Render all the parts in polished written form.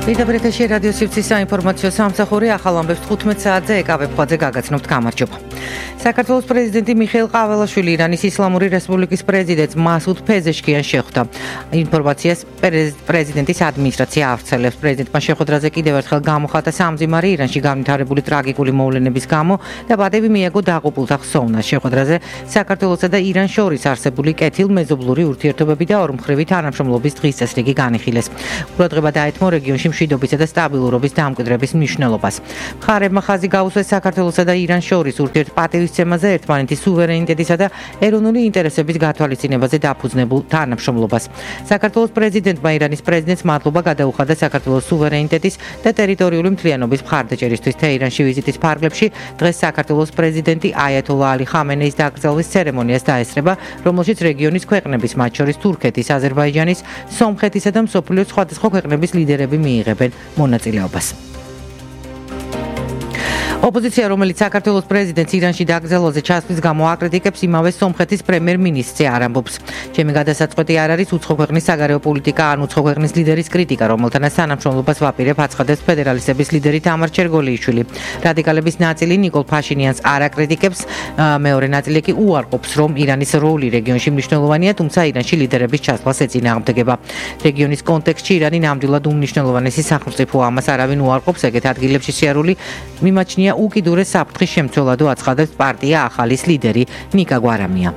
Ბრიტანეთში რადიო სივრცის საინფორმაციო სამსახური ახალ ამბებს 15 საათზე ეკავებხვაძე გაგაცნობთ. გამარჯობა. საქართველოს პრეზიდენტი მიხეილ ყაველაშვილი ირანის ისლამური რესპუბლიკის პრეზიდენტს მასუდ ფეზეშკიანს შეხვდა. ინფორმაციას პრეზიდენტის ადმინისტრაცია ავრცელებს. პრეზიდენტმა შეხვედრაზე კიდევ ერთხელ გამოხატა სამძიმარი ირანში განვითარებული ტრაგიკული მოვლენების გამო და პატივი მიაგო დაღუპულთა ხსოვნას. შეხვედრაზე საქართველოსა და ირანს შორის არსებული კეთილმეზობლური ურთიერთობები და ორმხრივი თანამშრომლობის დღის წესრიგი განიხილეს. ყურადღება დაეთმო რეგიონში მშვიდობისა და სტაბილურობის დამკვიდრების მნიშვნელობას. მხარეებმა ხაზი გაუსვეს საქართველოსა და ირანს შორის ურთიერთპატივისცემაზე, ერთმანეთის სუვერენიტეტისა და ეროვნული ინტერესების გათვალისწინებაზე დაფუძნებულ თანამშრომლობას. საქართველოს პრეზიდენტმა ირანის პრეზიდენტს მადლობა გადაუხადა საქართველოს სუვერენიტეტის და ტერიტორიული მთლიანობის მხარდაჭერისთვის. თეირანში ვიზიტის ფარგლებში დღეს საქართველოს პრეზიდენტი აიათოლა ალი ხამენეის დაკრძალვის ცერემონიას დაესწრება, რომელშიც რეგიონის ქვეყნების, მათ შორის თურქეთის, აზერბაიჯანის, სომხეთისა და მსოფლიოს სხვადასხვა ქვეყნების ლიდერები მიიღებენ მონაწილეობას. ოპოზიცია, რომელიც საქართველოს პრეზიდენტს ირანში დაკრძალვაზე ჩასვლის გამო აკრიტიკებს, იმავე სომხეთის პრემიერ-მინისტრზე არ ამბობს. ჩემი გადასაწყვეტი არ არის უცხო ქვეყნის საგარეო პოლიტიკა ან უცხო ქვეყნის ლიდერის კრიტიკა, რომელთანაც თანამშრომლობას ვაპირებ, აცხადებს ფედერალისტების ლიდერი თამარ ჩერგოლიიშვილი. რადიკალების ნაწილი ნიკოლ ფაშინიანს არ აკრიტიკებს, მეორე ნაწილი კი უარყოფს, რომ ირანის როლი რეგიონში მნიშვნელოვანია, თუმცა ირანში ლიდერების ჩასვლას ეწინააღმდეგება. რეგიონის კონტექსტში ირანი ნამდვილად უმნიშვნელოვანესი სახელმწიფოა, ამას არავინ უარყოფს, ეგეთ ადგილებში სიარული მიმაჩნია უკიდურეს საფრთხის შემცველადო აცხადებს პარტია ახალის ლიდერი ნიკა გვარამია.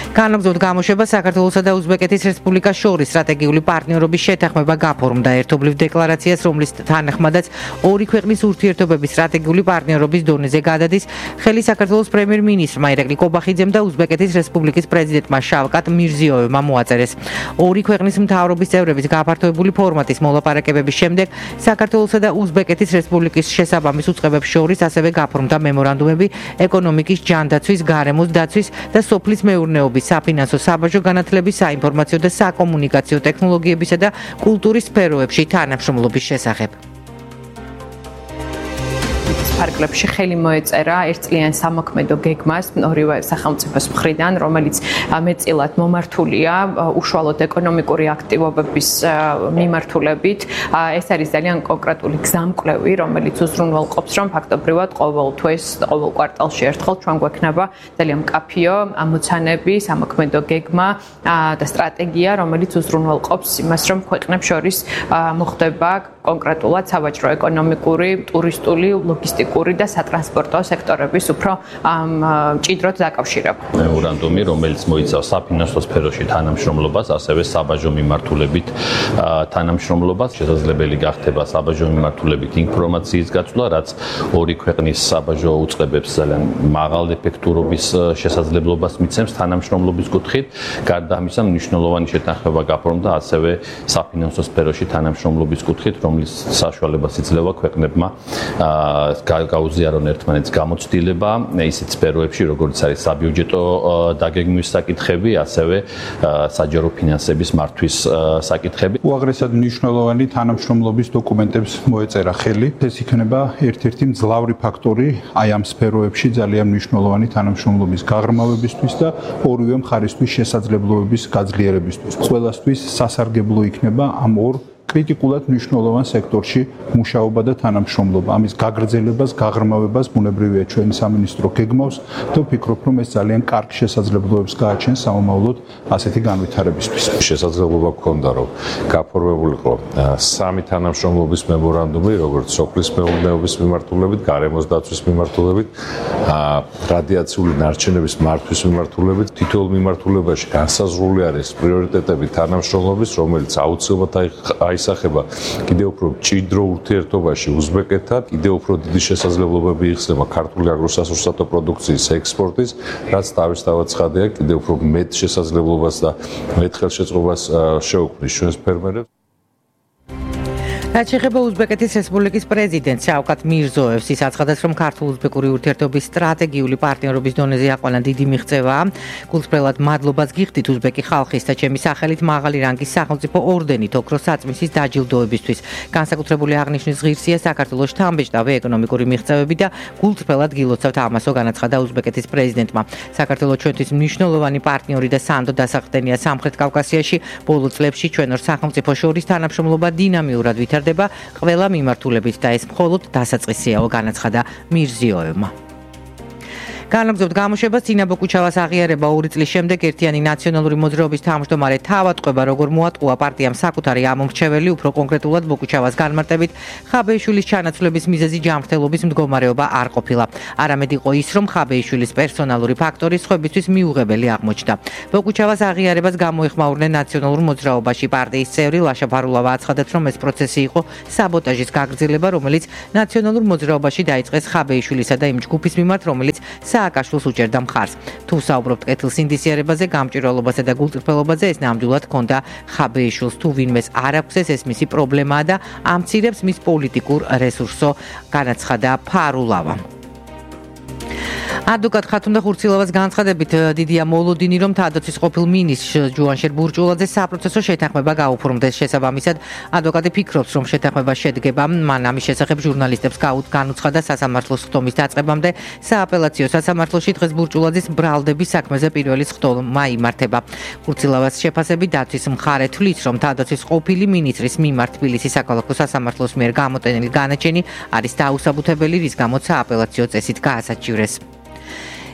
განაგრძობთ გამოშვება საქართველოსა და უზბეკეთის რესპუბლიკას შორის სტრატეგიული პარტნიორობის შეთანხმება გაფორმდა ერთობლივ დეკლარაციას, რომლის თანახმადაც ორი ქვეყნის ურთიერთობების სტრატეგიული პარტნიორობის დონეზე გადადის ხელი საქართველოს პრემიერ-მინისტრმა ირაკლი კობახიძემ და უზბეკეთის რესპუბლიკის პრეზიდენტმა შავკატ მირზიოევმა მოაწერეს. ორი ქვეყნის მთავრობის წევრების გაფართოებული ფორმატის მოლაპარაკებების შემდეგ საქართველოსა და უზბეკეთის რესპუბლიკის შესაბამის უწყებებს შორის ასევე გაფორმდა მემორანდუმები ეკონომიკის, ჯანდაცვის, გარემოს დაცვის და სოფლის მეურნეობის, საფინანსო, საბაჟო განათლების, საინფორმაციო და საკომუნიკაციო ტექნოლოგიებისა და კულტურის სფეროებში თანამშრომლობის შესახებ. ფარგლებში ხელი მოეწერა ერთწლიან სამოქმედო გეგმას ორივე სახელმწიფოს მხრიდან, რომელიც მეტწილად მომართულია უშუალოდ ეკონომიკური აქტივობების მიმართულებით. ეს არის ძალიან კონკრეტული გზამკვლევი, რომელიც უზრუნველყოფს, რომ ფაქტობრივად ყოველ თვეს, ყოველ კვარტალში ერთხელ ჩვენ გვექნება ძალიან მკაფიო ამოცანები, სამოქმედო გეგმა და სტრატეგია, რომელიც უზრუნველყოფს იმას, რომ ქვეყნებს შორის მოხდება კონკრეტულად სავაჭრო-ეკონომიკური, ტურისტული, ლოგისტიკური და სატრანსპორტო სექტორების უფრო მჭიდროდ დაკავშირება. მემორანდუმი, რომელიც მოიცავს საფინანსო სფეროში თანამშრომლობას, ასევე საბაჟო მიმართულებით თანამშრომლობას, შესაძლებელი გახდება საბაჟო მიმართულებით ინფორმაციის გაცვლა, რაც ორი ქვეყნის საბაჟო უწყებებს ძალიან მაღალ ეფექტურობის შესაძლებლობას მიცემს თანამშრომლობის კუთხით. გარდა ამისა, მნიშვნელოვანი შეთანხმება გაფორმდა ასევე საფინანსო სფეროში თანამშრომლობის კუთხით, რომლის საშუალებას იძლევა ქვეყნებმა გაუზიარონ ერთმანეთს გამოცდილება ისეთ სფეროებში, როგორც არის საბიუჯეტო დაგეგმვის საკითხები, ასევე საჯარო ფინანსების მართვის საკითხები. უაღრესად მნიშვნელოვანი თანამშრომლობის დოკუმენტებს მოეწერა ხელი. ეს იქნება ერთ-ერთი მძლავრი ფაქტორი აი ამ სფეროებში ძალიან მნიშვნელოვანი თანამშრომლობის გაღრმავებისთვის და ორივე მხარისთვის შესაძლებლობების გაძლიერებისთვის. ყველასთვის სასარგებლო იქნება ამ ორ კრიტიკულად მნიშვნელოვან სექტორში მუშაობა და თანამშრომლობა. ამის გაგრძელებას, გაღრმავებას ბუნებრივია ჩვენი სამინისტრო გეგმავს და ვფიქრობ, რომ ეს ძალიან კარგ შესაძლებლობებს გააჩენს სამომავლოდ ასეთი განვითარებისთვის. შესაძლებლობა გქონდა, რომ გაფორმებულიყო სამი თანამშრომლობის მემორანდუმი, როგორც სოფლის მეურნეობის მიმართულებით, გარემოს დაცვის მიმართულებით, რადიაციული ნარჩენების მართვის მიმართულებით, თითოეულ მიმართულებაში განსაზღვრული არის პრიორიტეტები თანამშრომლობის, რომელიც აუცილებლად აისახება კიდევ უფრო მჭიდრო ურთიერთობაში უზბეკეთთან, კიდევ უფრო დიდი შესაძლებლობები იხსნება ქართული აგროსასურსათო პროდუქციის ექსპორტის, რაც თავისთავად ცხადია, კიდევ უფრო მეტ შესაძლებლობას და მეტ ხელშეწყობას შეუქმნის ჩვენს ფერმერებს. რაც შეეხება უზბეკეთის რესპუბლიკის პრეზიდენტს შავკატ მირზოევს, ის აცხადებს, რომ ქართულ-უზბეკური ურთიერთობის სტრატეგიული პარტნიორობის დონეზე აყვანა დიდი მიღწევაა. გულწრფელად მადლობას გიხდით უზბეკი ხალხის და ჩემი სახელით მაღალი რანგის სახელმწიფო ორდენით ოქროს საწმისის დაჯილდოებისთვის. განსაკუთრებული აღნიშვნის ღირსია საქართველოს შთამბეჭდავი ეკონომიკური მიღწევები და გულწრფელად გილოცავთ ამასო, განაცხადა უზბეკეთის პრეზიდენტმა. საქართველოს ჩვენთვის მნიშვნელოვანი პარტნიორი და სანდო დასახდენია სამხრეთ კავკასიაში. ბოლო წლებში ჩვენ ორ სახელმწიფოს შორის თანამშრომლობა დინამიურად ვითარდება. ვითარდება ყველა მიმართულებით და ეს მხოლოდ დასაწყისიაო, განაცხადა მირზიოევმა. განაგრძობთ გამოშვებას წინა ბოკუჩავას აღიარება 2 წლის შემდეგ ერთიანი ნაციონალური მოძრაობის თავმჯდომარე თავატყვება როგორ მოატყუა პარტიამ საკუთარი ამომრჩეველი უფრო კონკრეტულად ბოკუჩავას განმარტებით ხაბეიშვილის ჩანაცვლების მიზეზი ჯანმრთელობის მდგომარეობა არ ყოფილა არამედ იყო ის რომ ხაბეიშვილის პერსონალური ფაქტორი სხვებისთვის მიუღებელი აღმოჩნდა ბოკუჩავას აღიარებას გამოეხმაურნენ ნაციონალურ მოძრაობაში პარტიის წევრი ლაშა ფარულავა აცხადებს რომ ეს პროცესი იყო საბოტაჟის გაგრძელება რომელიც ნაციონალურ მოძრაობაში დაიწყეს ხაბეიშვილისა და იმ ჯგუფის მიმართ რომელიც სააკაშვილს უჭერდა მხარს. თუ საუბრობთ კეთილ სინდისიერებაზე, გამჭვირვალობაზე და გულწრფელობაზე, ეს ნამდვილად ჰქონდა ხაბეიშვილს. თუ ვინმეს არ აქვს ეს მისი პრობლემაა და ამცირებს მის პოლიტიკურ რესურსო, განაცხადა ფარულავა. ადვოკატ ხათუნდა ხურცილავას განცხადებით დიდია მოლოდინი რომ თადოცის ყოფილ მინისტრ ჯუანშერ ბურჭულაძე საპროცესო შეთანხმება გაუფორმდეს შესაბამისად ადვოკატი ფიქრობს რომ შეთანხმება შედგება მან ამის შესახებ ჟურნალისტებს განუცხადა სასამართლოს ხტომის დაწყებამდე სააპელაციო სასამართლოში დღეს ბურჭულაძის ბრალდების საქმეზე პირველი ხტომა იმართება ხურცილავას შეფასებით დაცვის მხარე თვლის რომ თადოცის ყოფილი მინისტრის მიმართ თბილისის საქალაქო სასამართლოს მიერ გამოტენილი განაჩენი არის დაუსაბუთებელი რის გამოც სააპელაციო წესით გაასაჩივრეს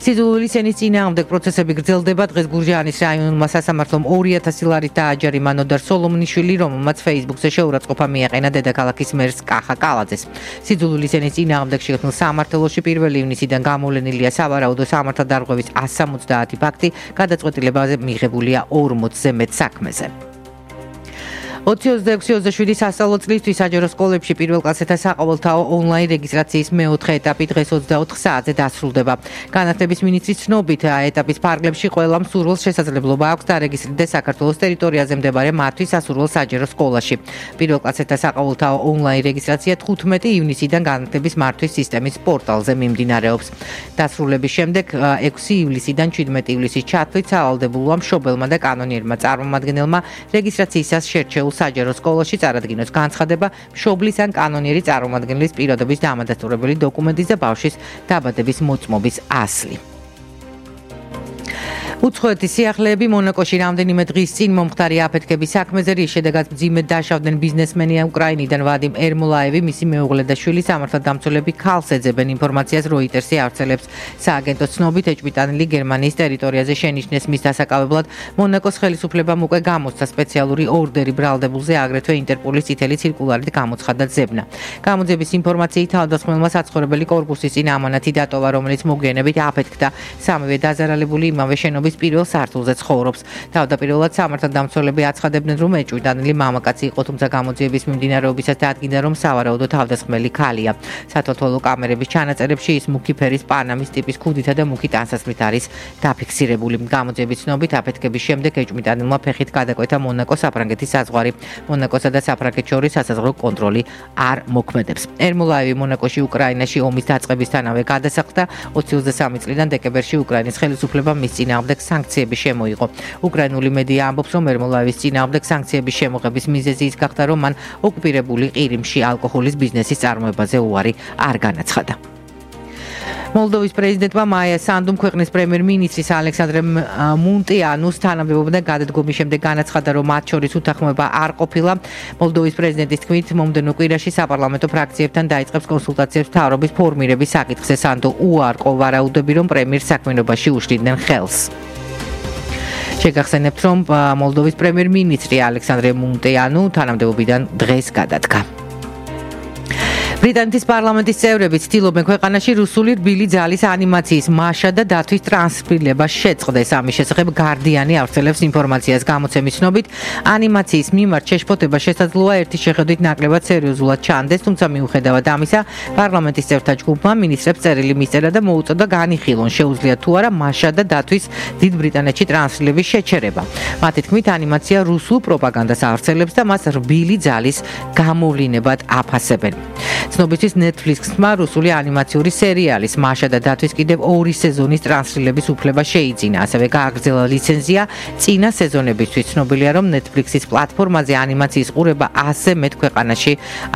სიძულვილის ენის წინააღმდეგ პროცესები გრძელდება დღეს გურჯაანის რაიონულმა სასამართლომ 2000 ლარით დააჯარიმა ნოდარ სოლომონიშვილი რომელმაც Facebook-ზე შეურაცხყოფა მიაყენა დედაქალაქის მერს კახა კალაძეს სიძულვილის ენის წინააღმდეგ შექმნილ სამართლოში 1 ივნისიდან გამოვლენილია სავარაუდო სამართალდარღვევის 170 ფაქტი გადაწყვეტილებაზე მიღებულია 40-ზე მეტ საქმეზე 2026-27 სასწავლო წლისთვის საჯარო სკოლებში პირველ კლასეთა საყოველთაო ონლაინ რეგისტრაციის მეოთხე ეტაპი დღეს 24 საათზე დასრულდება. განათლების მინისტრის ცნობით ეტაპის ფარგლებში ყველა მსურველს შესაძლებლობა აქვს დარეგისტრირდეს საქართველოს ტერიტორიაზე მდებარე მათთვის სასურველ საჯარო სკოლაში. პირველ კლასეთა საყოველთაო ონლაინ რეგისტრაცია 15 ივნისიდან განათლების მართვის სისტემის პორტალზე მიმდინარეობს. დასრულების შემდეგ 6 ივლისიდან 17 ივლისის ჩათვლით სავალდებულოა მშობელმა და კანონიერმა წარმომადგენელმა რეგისტრაციისას შერჩეულ საჯარო სკოლაში წარადგინოს განცხადება მშობლის ან კანონიერი წარმომადგენლის პირადობის დამადასტურებელი დოკუმენტის და ბავშვის დაბადების მოწმობის ასლი. უცხოეთის სიახლეები მონაკოში რამდენიმე დღის წინ მომხდარი აფეთქების საქმეზე რის შედეგად მძიმედ დაშავდნენ ბიზნესმენი უკრაინიდან ვადიმ ერმოლაევი მისი მეუღლე და შვილი სამართალდამცველები ქალს ეძებენ ინფორმაციას როიტერსი ავრცელებს სააგენტოს ცნობით ეჭვმიტანილი გერმანიის ტერიტორიაზე შენიშნეს მის დასაკავებლად მონაკოს ხელისუფლებამ უკვე გამოსცა სპეციალური ორდერი ბრალდებულზე აგრეთვე ინტერპოლის წითელი ცირკულარით გამოცხადა ძებნა გამოძიების ინფორმაციით თავდასხმელმა საცხოვრებელი კორპუსის წინ ამანათი დატოვა რომელიც მოგვიანებით აფეთქდა სამივე დაზარალებული იმავე შენობის პირველ სართულზე ცხოვრობს. თავდაპირველად სამართალდამცველები აცხადებდნენ, რომ ეჭვმიტანილი მამაკაცი იყო, თუმცა გამოძიების მიმდინარეობისას დადგინდა, რომ სავარაუდო თავდასხმელი ქალია. სათვალთვალო კამერების ჩანაწერებში ის მუქი ფერის პანამის ტიპის ქუდითა და მუქი ტანსაცმლით არის დაფიქსირებული. გამოძიების ცნობით აფეთქების შემდეგ ეჭვმიტანილმა ფეხით გადაკვეთა მონაკო საფრანგეთის საზღვარი. მონაკოსა და საფრანგეთს შორის სასაზღვრო კონტროლი არ მოქმედებს. ერმოლაევი მონაკოში უკრაინაში ომის დაწყებისთანავე გადასახლდა 23 წლიდან დეკემბერში უკრაინის ხელისუფლებამ მის წინააღმდეგ სანქციები შემოიღო. უკრაინული მედია ამბობს, რომ ერმოლაევის წინააღმდეგ სანქციების შემოღების მიზეზი ის გახდა, რომ მან ოკუპირებული ყირიმში ალკოჰოლის ბიზნესის წარმოებაზე უარი არ განაცხადა. მოლდოვის პრეზიდენტმა მაია სანდუმ ქვეყნის პრემიერ-მინისტრის ალექსანდრე მუნტიანუს თანამდებობიდან გადადგომის შემდეგ განაცხადა, რომ მათ შორის უთანხმოება არ ყოფილა. მოლდოვის პრეზიდენტის თქმით, მომდევნო კვირაში საპარლამენტო ფრაქციებთან დაიწყებს კონსულტაციებს მთავრობის ფორმირების საკითხზე. სანდო უარყო ვარაუდები, რომ პრემიერს საქმიანობაში უშლიდნენ ხელს. შეგახსენებთ, რომ მოლდოვის პრემიერ-მინისტრი ალექსანდრე მუნტიანუ თანამდებობიდან დღეს გადადგა. ბრიტანეთის პარლამენტის წევრები ცდილობენ ქვეყანაში რუსული რბილი ძალის ანიმაციის მაშა და დათვის ტრანსფრილებას შეწყდეს. ამის შესახებ გარდიანი ავრცელებს ინფორმაციას გამოცემის ცნობით, ანიმაციის მიმართ შეშფოთება შესაძლოა ერთი შეხედვით ნაკლებად სერიოზულად ჩანდეს, თუმცა მიუხედავად ამისა, პარლამენტის წევრთა ჯგუფმა მინისტრებს წერილი მისწერა და მოუწოდა განიხილონ, შეუძლიათ თუ არა მაშა და დათვის დიდ ბრიტანეთში ტრანსფრილების შეჩერება. მათი თქმით, ანიმაცია რუსულ პროპაგანდას ავრცელებს და მას რბილი ძალის გამოვლინებად აფასებენ. ცნობისთვის Netflix-მა რუსული ანიმაციური სერიალის „მაშა და დათვის“ კიდევ 2 სეზონის ტრანსლირების უფლება შეიძინა. ასევე გააგრძელა ლიცენზია წინა სეზონებისთვის. ცნობილია, რომ Netflix-ის პლატფორმაზე ანიმაციის ყურება 100-ზე მეტ ქვეყანაში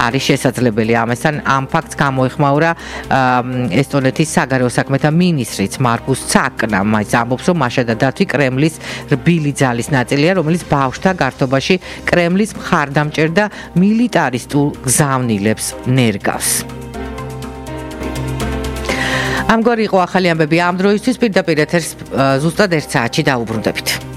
არის შესაძლებელი. ამასთან ამ ფაქტს გამოეხმაურა ესტონეთის საგარეო საქმეთა მინისტრიც მარკუს ცაკნა. მას ამბობს, რომ მაშა და დათვი კრემლის რბილი ძალის ნაწილია, რომელიც ბავშვთა გართობაში კრემლის მხარდამჭერ და მილიტარისტულ გზავნილებს ნერგავს. ამგვარი იყო ახალი ამბები ამ დროისთვის. პირდაპირ ეთერს ზუსტად 1 საათში დაუბრუნდებით.